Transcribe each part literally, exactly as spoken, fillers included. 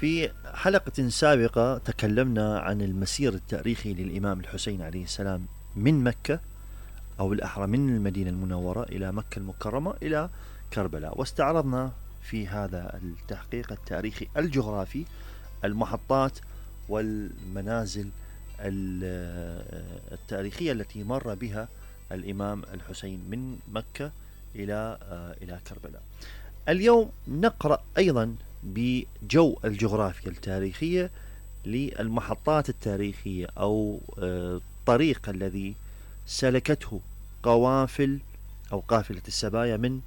في حلقة سابقة تكلمنا عن المسير التاريخي للإمام الحسين عليه السلام من مكة، أو بالأحرى من المدينة المنورة إلى مكة المكرمة إلى كربلاء، واستعرضنا في هذا التحقيق التاريخي الجغرافي المحطات والمنازل التاريخية التي مر بها الإمام الحسين من مكة إلى إلى كربلاء. اليوم نقرأ أيضا بجو الجغرافيا التاريخية للمحطات التاريخية أو الطريق الذي سلكته قوافل أو قافلة السبايا من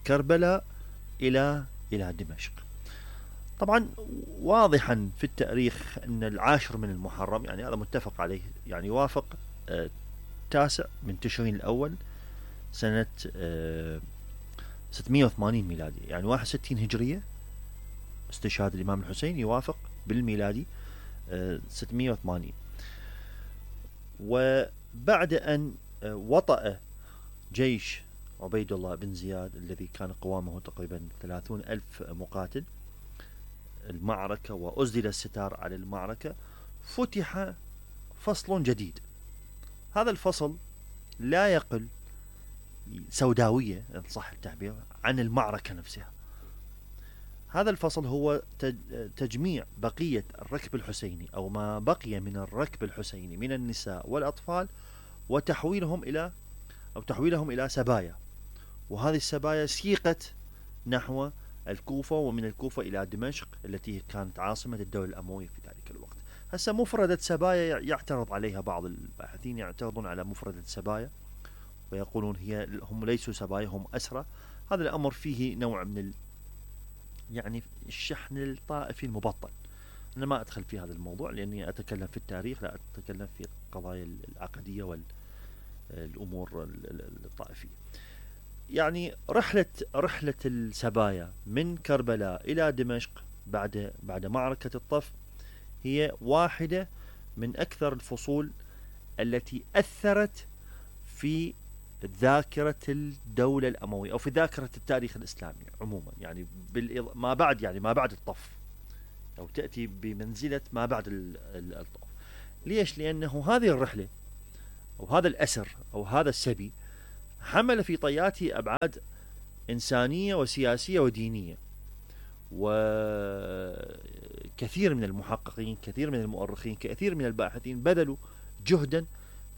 كربلاء إلى إلى دمشق. طبعا واضحا في التاريخ أن العاشر من المحرم، يعني هذا متفق عليه، يعني يوافق تاسع من تشرين الأول سنة ستمائة وثمانين ميلادي، يعني واحد وستين هجرية. استشهاد الإمام الحسين يوافق بالميلادي ستمائة وثمانين. وبعد أن وطأ جيش عبيد الله بن زياد الذي كان قوامه تقريبا ثلاثون ألف مقاتل المعركة وأزدل الستار على المعركة، فتح فصل جديد. هذا الفصل لا يقل سوداوية إن صح التعبير عن المعركة نفسها. هذا الفصل هو تجميع بقية الركب الحسيني أو ما بقي من الركب الحسيني من النساء والأطفال وتحويلهم إلى أو تحويلهم إلى سبايا، وهذه السبايا سيقت نحو الكوفة، ومن الكوفة إلى دمشق التي كانت عاصمة الدولة الأموية في ذلك الوقت. هسه مفردة سبايا يعترض عليها بعض الباحثين، يعترضون على مفردة سبايا ويقولون هي هم ليسوا سبايا، هم أسرى. هذا الأمر فيه نوع من ال يعني الشحن الطائفي المبطن. أنا ما أدخل في هذا الموضوع لأني أتكلم في التاريخ، لا أتكلم في القضايا العقدية والأمور الطائفية. يعني رحلة رحلة السبايا من كربلاء إلى دمشق بعد بعد معركة الطف هي واحدة من أكثر الفصول التي أثرت في ذاكرة الدولة الأموية أو في ذاكرة التاريخ الإسلامي عموما، يعني ما بعد يعني ما بعد الطف، أو تأتي بمنزلة ما بعد الطف. ليش؟ لأنه هذه الرحلة أو هذا الأسر أو هذا السبي حمل في طياته أبعاد إنسانية وسياسية ودينية. وكثير من المحققين، كثير من المؤرخين، كثير من الباحثين بذلوا جهدا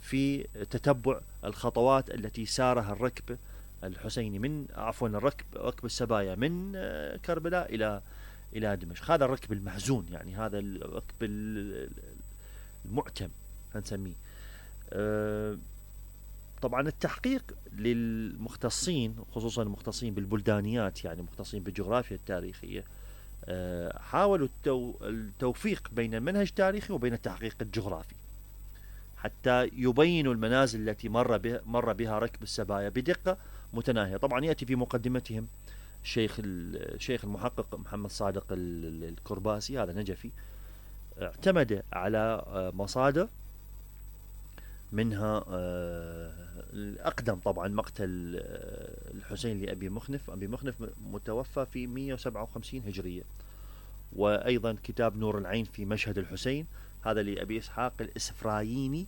في تتبع الخطوات التي سارها الركب الحسيني من عفوا الركب ركب السبايا من كربلاء إلى إلى دمشق. هذا الركب المحزون، يعني هذا الركب المعتم هنسميه. طبعا التحقيق للمختصين، خصوصا المختصين بالبلدانيات، يعني مختصين بالجغرافيا التاريخية، حاولوا التوفيق بين المنهج التاريخي وبين التحقيق الجغرافي حتى يبينوا المنازل التي مر بها مر بها ركب السبايا بدقة متناهية. طبعا يأتي في مقدمتهم الشيخ الشيخ المحقق محمد صادق الكرباسي، هذا نجفي، اعتمد على مصادر منها الأقدم طبعا مقتل الحسين لأبي مخنف. أبي مخنف متوفى في مئة وسبعة وخمسين هجرية. وأيضا كتاب نور العين في مشهد الحسين، هذا لأبي إسحاق الإسفرايني،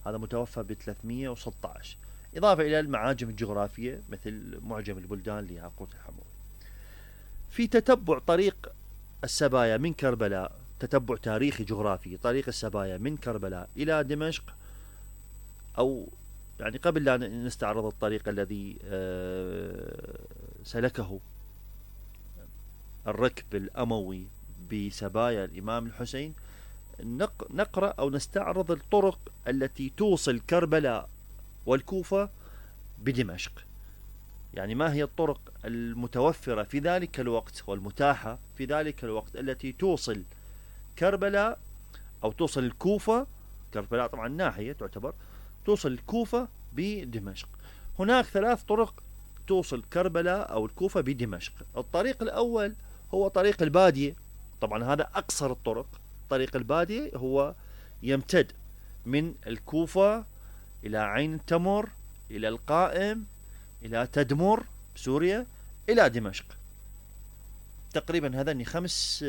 هذا متوفى ب ثلاثمئة وستة عشر، إضافة إلى المعاجم الجغرافية مثل معجم البلدان لياقوت الحموي. في تتبع طريق السبايا من كربلاء، تتبع تاريخي جغرافي طريق السبايا من كربلاء إلى دمشق، أو يعني قبل لا نستعرض الطريق الذي سلكه الركب الأموي بسبايا الإمام الحسين، نقرأ أو نستعرض الطرق التي توصل كربلاء والكوفة بدمشق. يعني ما هي الطرق المتوفرة في ذلك الوقت والمتاحة في ذلك الوقت التي توصل كربلاء أو توصل الكوفة، كربلاء طبعا ناحية تعتبر، توصل الكوفة بدمشق. هناك ثلاث طرق توصل كربلاء أو الكوفة بدمشق. الطريق الأول هو طريق البادية، طبعا هذا أقصر الطرق. طريق البادية هو يمتد من الكوفة إلى عين التمر إلى القائم إلى تدمر سوريا إلى دمشق. تقريبا هذني خمس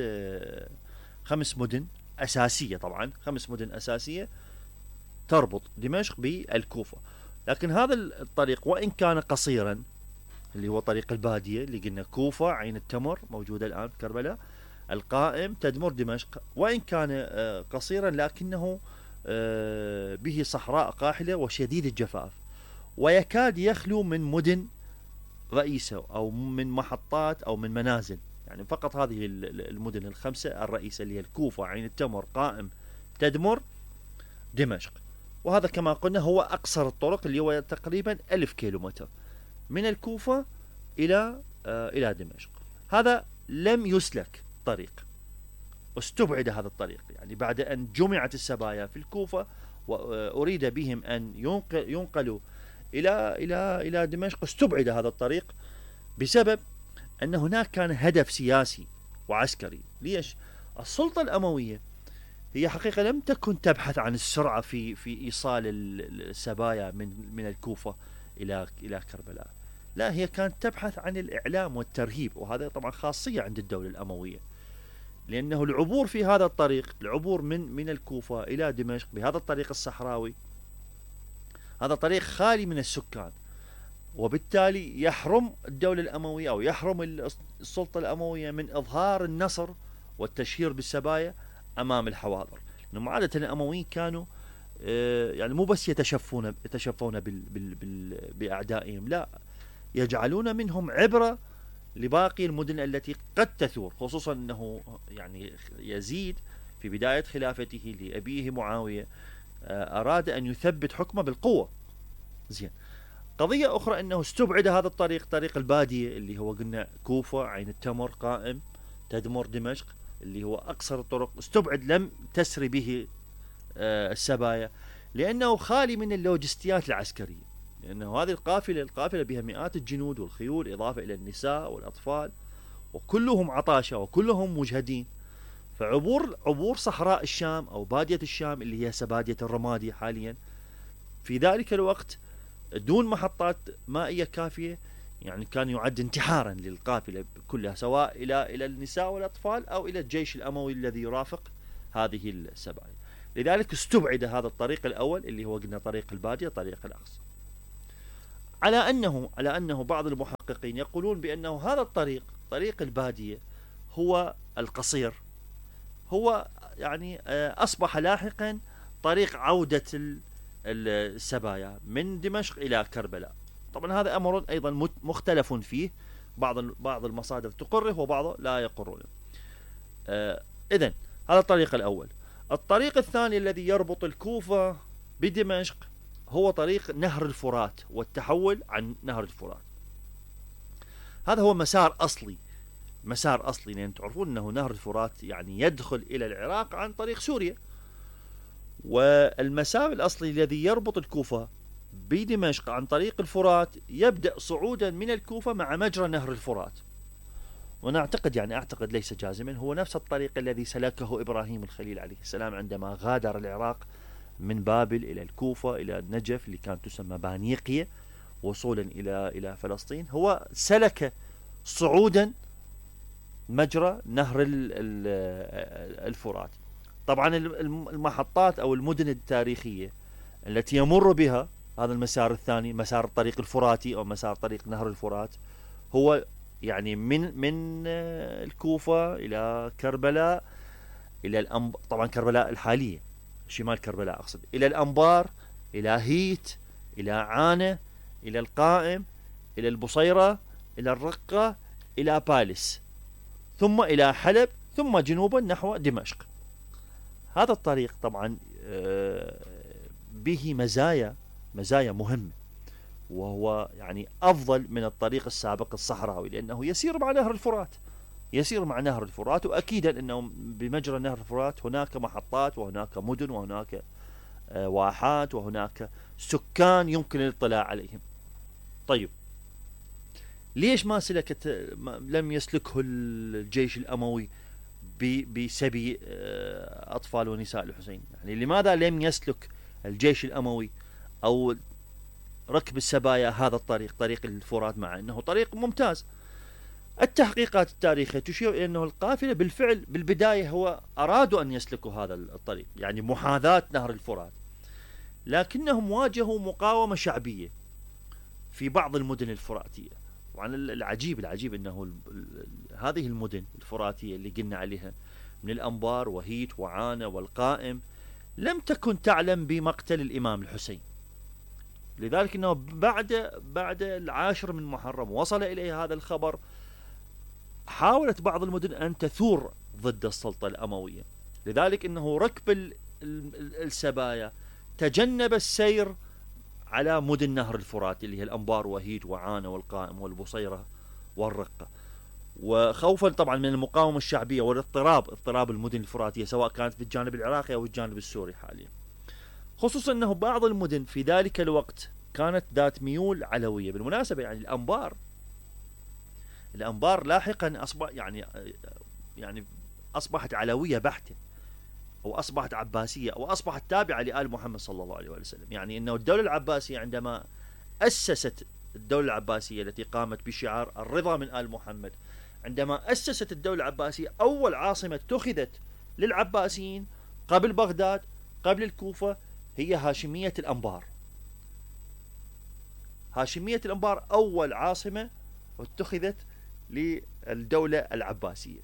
خمس مدن أساسية، طبعا خمس مدن أساسية تربط دمشق بالكوفة. لكن هذا الطريق وإن كان قصيرا، اللي هو طريق البادية اللي قلنا كوفة، عين التمر موجودة الآن في كربلاء، القائم، تدمر، دمشق، وإن كان قصيرا لكنه به صحراء قاحلة وشديد الجفاف، ويكاد يخلو من مدن رئيسة أو من محطات أو من منازل. يعني فقط هذه المدن الخمسة الرئيسة اللي هي الكوفة، عين التمر، قائم، تدمر، دمشق. وهذا كما قلنا هو أقصر الطرق، اللي هو تقريبا ألف كيلومتر من الكوفة إلى آه إلى دمشق. هذا لم يسلك طريق، استبعد هذا الطريق، يعني بعد أن جمعت السبايا في الكوفة وأريد بهم أن ينقل ينقلوا إلى إلى إلى دمشق، استبعد هذا الطريق بسبب أن هناك كان هدف سياسي وعسكري. ليش؟ السلطة الأموية هي حقيقة لم تكن تبحث عن السرعة في في إيصال السبايا من من الكوفة إلى إلى كربلاء، لا، هي كانت تبحث عن الإعلام والترهيب، وهذا طبعا خاصية عند الدولة الأموية، لأنه العبور في هذا الطريق، العبور من من الكوفة إلى دمشق بهذا الطريق الصحراوي، هذا طريق خالي من السكان، وبالتالي يحرم الدولة الأموية أو يحرم السلطة الأموية من إظهار النصر والتشهير بالسبايا أمام الحواضر. لأنه عادة الأمويين كانوا يعني مو بس يتشفون يتشفون بال بال بال بأعدائهم، لا، يجعلون منهم عبرة لباقي المدن التي قد تثور، خصوصا أنه يعني يزيد في بداية خلافته لأبيه معاوية أراد أن يثبت حكمه بالقوة. زين، قضية أخرى أنه استبعد هذا الطريق، طريق البادية اللي هو قلنا كوفة، عين التمر، قائم، تدمر، دمشق، اللي هو أقصر الطرق، استبعد، لم تسري به السبايا لأنه خالي من اللوجستيات العسكرية، لأنه هذه القافلة القافلة بها مئات الجنود والخيول، إضافة إلى النساء والأطفال، وكلهم عطاشة وكلهم مجهدين. فعبور عبور صحراء الشام أو بادية الشام اللي هي سبادية الرمادي حاليا في ذلك الوقت دون محطات مائية كافية، يعني كان يعد انتحارا للقافلة كلها، سواء إلى إلى النساء والأطفال أو إلى الجيش الأموي الذي يرافق هذه السبايا. لذلك استبعد هذا الطريق الأول اللي هو قلنا طريق البادية، طريق الأقصى، على أنه على أنه بعض المحققين يقولون بأنه هذا الطريق، طريق البادية، هو القصير، هو يعني أصبح لاحقا طريق عودة السبايا من دمشق إلى كربلاء. طبعا هذا أمر أيضا مختلف فيه، بعض بعض المصادر تقره وبعض لا يقرونه. إذن هذا الطريق الأول. الطريق الثاني الذي يربط الكوفة بدمشق هو طريق نهر الفرات والتحول عن نهر الفرات. هذا هو مسار أصلي، مسار أصلي، لأن تعرفون أنه نهر الفرات يعني يدخل إلى العراق عن طريق سوريا، والمسار الأصلي الذي يربط الكوفة بدمشق عن طريق الفرات يبدأ صعودا من الكوفة مع مجرى نهر الفرات. ونعتقد يعني أعتقد ليس جازما هو نفس الطريق الذي سلكه إبراهيم الخليل عليه السلام عندما غادر العراق من بابل إلى الكوفة إلى النجف اللي كانت تسمى بانيقية وصولا إلى إلى فلسطين. هو سلك صعودا مجرى نهر الفرات. طبعا المحطات أو المدن التاريخية التي يمر بها هذا المسار الثاني، مسار الطريق الفراتي أو مسار طريق نهر الفرات، هو يعني من من الكوفة إلى كربلاء، إلى الأنب... طبعا كربلاء الحالية، شمال كربلاء أقصد، إلى الأنبار، إلى هيت، إلى عانة، إلى القائم، إلى البصيرة، إلى الرقة، إلى بالس، ثم إلى حلب، ثم جنوبا نحو دمشق. هذا الطريق طبعا به مزايا مزايا مهمة، وهو يعني أفضل من الطريق السابق الصحراوي، لأنه يسير مع نهر الفرات، يسير مع نهر الفرات، وأكيدا أنه بمجرى نهر الفرات هناك محطات وهناك مدن وهناك واحات وهناك سكان يمكن الاطلاع عليهم. طيب ليش ما سلكت لم يسلكه الجيش الأموي بسبي أطفال ونساء الحسين؟ يعني لماذا لم يسلك الجيش الأموي أو ركب السبايا هذا الطريق، طريق الفرات، مع أنه طريق ممتاز؟ التحقيقات التاريخية تشير إلى أنه القافلة بالفعل بالبداية هو أرادوا أن يسلكوا هذا الطريق، يعني محاذاة نهر الفرات، لكنهم واجهوا مقاومة شعبية في بعض المدن الفراتية. وعن العجيب العجيب أنه هذه المدن الفراتية اللي قلنا عليها من الأنبار وهيت وعانة والقائم لم تكن تعلم بمقتل الإمام الحسين، لذلك أنه بعد بعد العاشر من محرم وصل إليه هذا الخبر، حاولت بعض المدن أن تثور ضد السلطة الأموية، لذلك أنه ركب السبايا تجنب السير على مدن نهر الفرات اللي هي الأنبار وهيت وعانة والقائم والبصيرة والرقة، وخوفا طبعا من المقاومة الشعبية والاضطراب اضطراب المدن الفراتية سواء كانت في الجانب العراقي أو الجانب السوري حاليا. خصوصا أنه بعض المدن في ذلك الوقت كانت ذات ميول علوية. بالمناسبة يعني الأنبار الأنبار لاحقا أصبح يعني يعني أصبحت علوية بحتة، أو أصبحت عباسية، أو أصبحت تابعة لآل محمد صلى الله عليه وسلم. يعني أنه الدولة العباسية عندما أسست الدولة العباسية التي قامت بشعار الرضا من آل محمد، عندما أسست الدولة العباسية أول عاصمة اتخذت للعباسيين قبل بغداد قبل الكوفة هي هاشمية الأنبار. هاشمية الأنبار أول عاصمة اتخذت للدولة العباسية.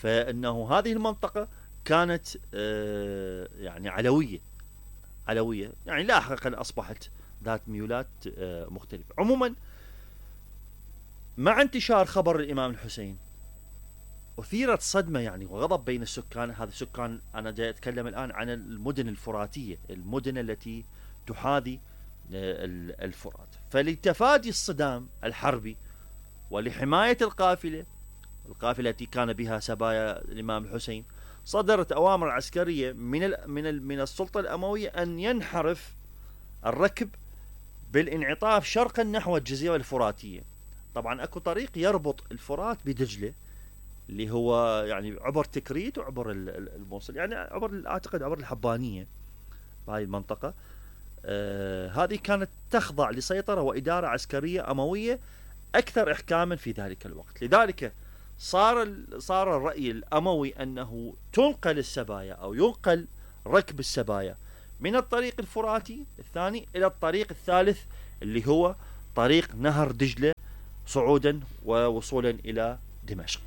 فإنه هذه المنطقة كانت يعني علوية علوية يعني لاحقا أصبحت ذات ميولات مختلفة. عموما مع انتشار خبر الإمام الحسين أثيرت صدمة يعني وغضب بين السكان. هذا السكان أنا جاي أتكلم الآن عن المدن الفراتية، المدن التي تحاذي الفرات. فلتفادي الصدام الحربي ولحماية القافلة القافلة التي كان بها سبايا الإمام الحسين، صدرت أوامر عسكرية من ال من ال من السلطة الأموية أن ينحرف الركب بالانعطاف شرقا نحو الجزيرة الفراتية. طبعا أكو طريق يربط الفرات بدجلة اللي هو يعني عبر تكريت وعبر الموصل، يعني عبر أعتقد عبر الحبانية بهاي المنطقة. آه هذه كانت تخضع لسيطرة وإدارة عسكرية أموية أكثر إحكاما في ذلك الوقت. لذلك صار صار الرأي الأموي أنه تنقل السبايا أو ينقل ركب السبايا من الطريق الفراتي الثاني إلى الطريق الثالث اللي هو طريق نهر دجلة صعودا ووصولا إلى دمشق.